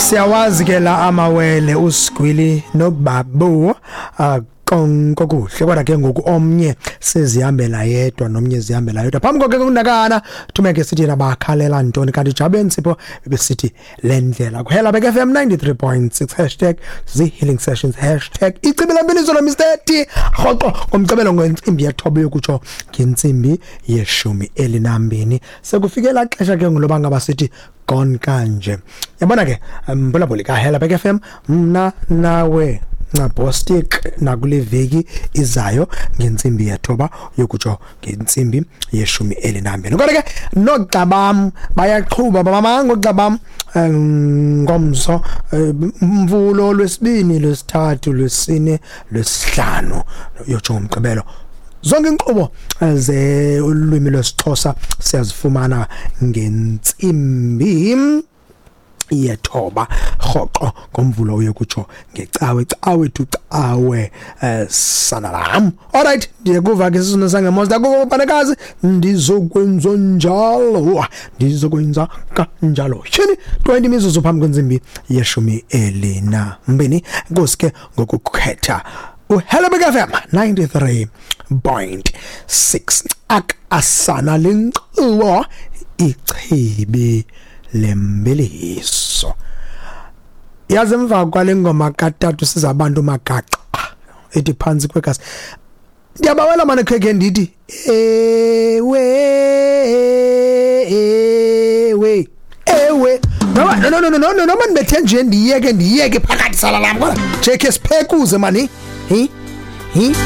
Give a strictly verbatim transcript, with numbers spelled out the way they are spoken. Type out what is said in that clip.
Siyawazi ke la amawele uSigwili noBabu konke kuhle, kodwa ke ngoku omnye sezihambela yedwa nomnye zihambela yedwa. Phambi koke kunakana thumeke sithi yena bakhalela ntoni, kanti Jabe Nsipho besithi le ndlela kuhela Bek F M ninety-three point six hashtag Z Healing Sessions hashtag Ichibi Lembiliso lo Mister T rhoqo ngomgqibelo ngentsimbi yethoba yokutsho ngentsimbi yeshumi elinambini. Sekufikela xesha ke ngoba ngaba sithi gone kanje. Yabona ke mbulabuli ka Hela Bek F M mna nawe Ncabostik nakule veki izayo ngentsimbi yethoba yokutsho ngentsimbi yeshumi elinambini. Kodwa ke noogxa bayaqhuba bamanga oogxa ngomso mvulo lwesibini lwesithathu lwesine lwesihlanu yotsho ngomgqibelo. Zonke inkqubo ze ulwimi lwesiXhosa siyazifumana ngentsimbi yethoba rhoqo ngomvulo uyokutsho ngecawe cawe to cawe eh, sanalam. Alright, ndiyekuva ke sisona sangemosi ndakuva banakazi ndizokwenza njalo ndizokwenza kanjalo. Tyhini twenty mizuzu phambi kwentsimbi yeshumi elinambini. Enkosi ke ngokukhetha uHello Bek F M ninety-three point six. Ak asana lenkqubo Ichibi Lembiliso. Yazi emva kwale ngoma katatu sizabantu magaqa ethi phansi kwegasi. Ndiyabawela manje kheke ndithi ewe ewe ewe no no no no no no noma ndibethe nje ndiyeke ndiyeke phakathi sala lam kodwa J K siphekuze mani. Hi hi.